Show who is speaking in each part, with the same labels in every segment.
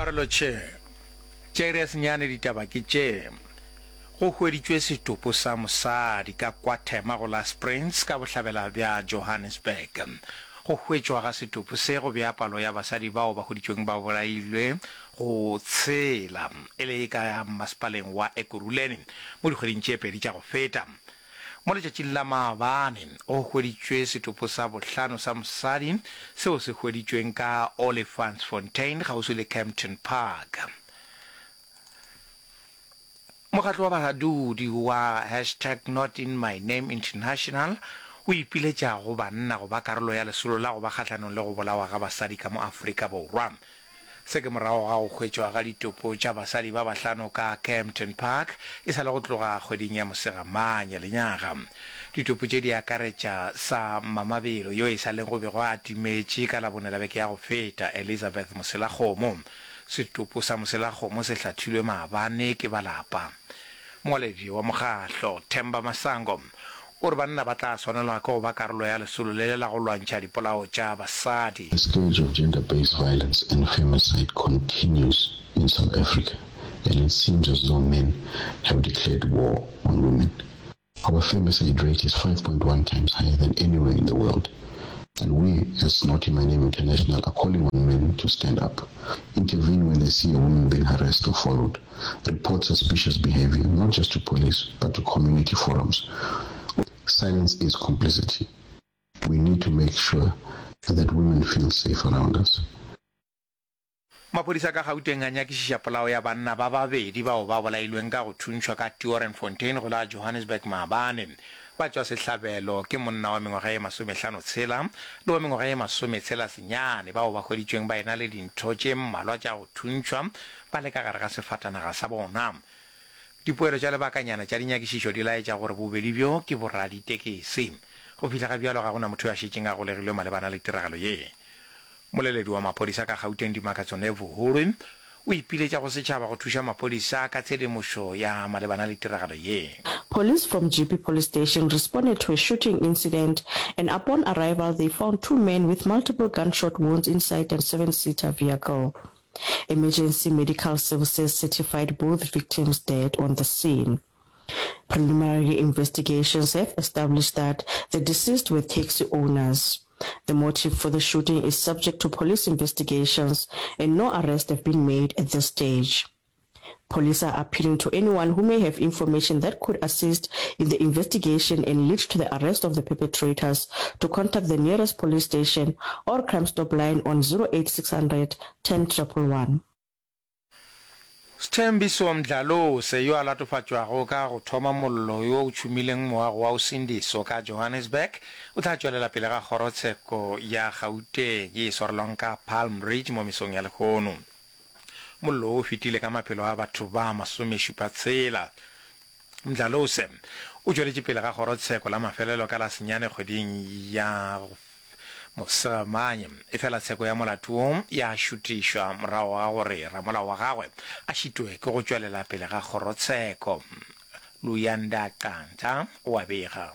Speaker 1: Arolotšhe, Tša iri ya senyane ditaba ke tše, Go hweditšwe setopo sa mosadi ka KwaThema go la Springs ka bohlabela bja Johannesburg. Go hwetšwa ga setopo se go bea palo ya basadi bao ba hweditšweng ba bolailwe go tshela e le ka masepaleng wa Ekurhuleni mo dikgweding tše pedi tša go feta. Mo letšatšing la maabane, go hweditšwe setopo sa bohlano sa mosadi seo se hweditšweng ka Olifantsfontein kgauswi le Kempton Park. Mokgatlo wa badudi wa hashtag Not In My Name International o ipiletša go banna go ba karolo ya lesolo la go ba kgahlanong le go bolawa ga basadi ka mo Afrika Borwa. Se ke morago ga go hwetšwa ga ditopo tša basadi ba bahlano ka Kempton Park e sa le go tloga kgweding ya Mosegamanye lenyaga. Ditopo tše di akaretša sa Mamabelo yo e sa leng go bego a timetše ka Labone la beke ya go feta, Elizabeth Moselakgomo. Setopo sa Moselakgomo se hlathilwe maabane ke ba lapa. Mongwaledi wa mokgahlo, Themba Masango, o re banna ba tla swanelwa ke go ba karolo ya lesolo le la go lwantšha dipolao tša basadi.
Speaker 2: The scourge of gender-based violence and femicide continues in South Africa and it seems as though men have declared war on women. Our femicide rate is 5.1 times higher than anywhere in the world and we as Not In My Name International are calling on men to stand up, intervene when they see a woman being harassed or followed, report suspicious behavior, not just to police, but to community forums. Silence is complicity. We need to make sure that women feel safe around us.
Speaker 1: Maphodisa ka Gauteng a nyakišiša polao ya banna ba babedi bao ba bolailweng ka go thuntšhwa ka Tiorenfontein go la Johannesburg maabane. Batšwasehlabelo ke monna wa mengwaga ye masomehlano-tshela le wa mengwaga ye masometshela senyane bao ba hweditšweng ba ena le dintho tše mmalwa tša go thuntšhwa ba le ka gare ga sefatanaga sa bona. Dipoelo tša lebakanyana tša dinyakišišo di laetša gore bobedi bjo ke boraditekesi. Go fihla ga bjalo ga go na motho yo a šetšeng a golegilwe malebana le tiragalo ye. Moleledi wa maphodisa ka Gauteng Dimakatso Nevhuhulwi o ipiletša go setšhaba go thuša maphodisa ka tshedimošo ya malebana le tiragalo ye.
Speaker 3: Police from Jeppe Police Station responded to a shooting incident and upon arrival they found two men with multiple gunshot wounds inside a seven-seater vehicle. Emergency medical services certified both victims dead on the scene. Preliminary investigations have established that the deceased were taxi owners. The motive for the shooting is subject to police investigations and no arrests have been made at this stage. Police are appealing to anyone who may have information that could assist in the investigation and lead to the arrest of the perpetrators to contact the nearest police station or Crime Stop line on 08600 10 111.
Speaker 1: Sthembiso Mdlalose, yo a latofatšwago ka go thoma mollo yo o tšhumileng moago wa Usindiso ka Johannesburg, o tla tšwelela pele ga kgorotsheko ya Gauteng ye e swarelwang ka Palm Ridge mo mesong ya lehono. Mollo wo o fetile ka maphelo a batho ba masomešupatshela. Mdlalose o tšweletše pele ga kgorotsheko la mafelelo ka la senyane kgweding ya Mosegamanye, efela tsheko ya molato wo ya šutišwa morago ga gore ramolao wa gagwe a šitwe ke go tšwelela pele ga kgorotsheko. Luyanda Qantha o a bega.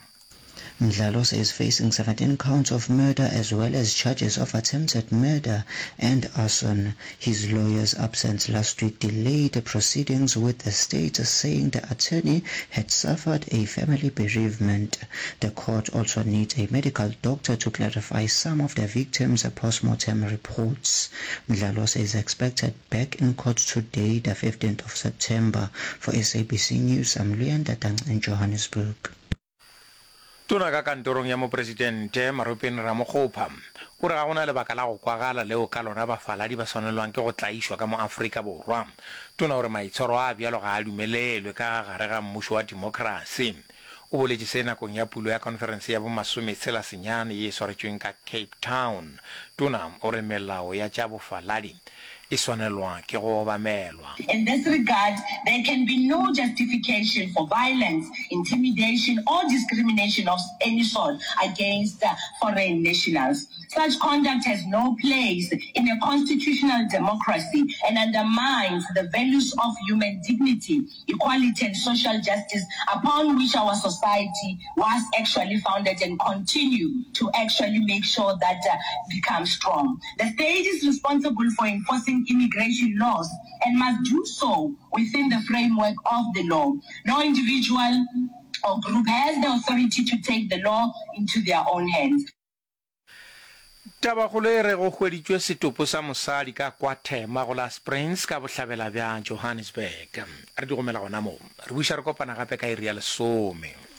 Speaker 4: Mdlalose is facing 17 counts of murder as well as charges of attempted murder and arson. His lawyer's absence last week delayed the proceedings with the state saying the attorney had suffered a family bereavement. The court also needs a medical doctor to clarify some of the victims' postmortem reports. Mdlalose is expected back in court today, the 15th of September. For SABC News, I'm Luyanda Dang in Johannesburg.
Speaker 1: Tona ka kantorong ya Mopresidente, Maropeng Ramokgopa, o re ga go na lebaka la go kwagala leo ka lona bafaladi ba swanelwang ke go tlaišwa ka mo Afrika Borwa. Tona o re maitshwaro a bjalo ga a dumelelwe ka gare ga mmušo wa demokrasi. O boletše se nakong ya pulo ya konferense ya bomasometshela senyane ye e swaretšweng ka Cape Town. Tona o re melao ya tša bofaladi e swanelwa ke go obamelwa.
Speaker 5: In this regard, there can be no justification for violence, intimidation or discrimination of any sort against foreign nationals. Such conduct has no place in a constitutional democracy and undermines the values of human dignity, equality and social justice upon which our society was actually founded and continue to actually make sure that uh, becomes strong. The state is responsible for enforcing African immigration laws and must do so within the framework of the law. No individual or group has the authority to take the law into their own hands.
Speaker 1: Tabakgolo e re go hweditšwe setopo sa mosadi ka kwa Thema go la Springs ka bohlabela bja Johannesburg. Re di gomela gona moo. Re buša re kopana gape ka iri ya lesome.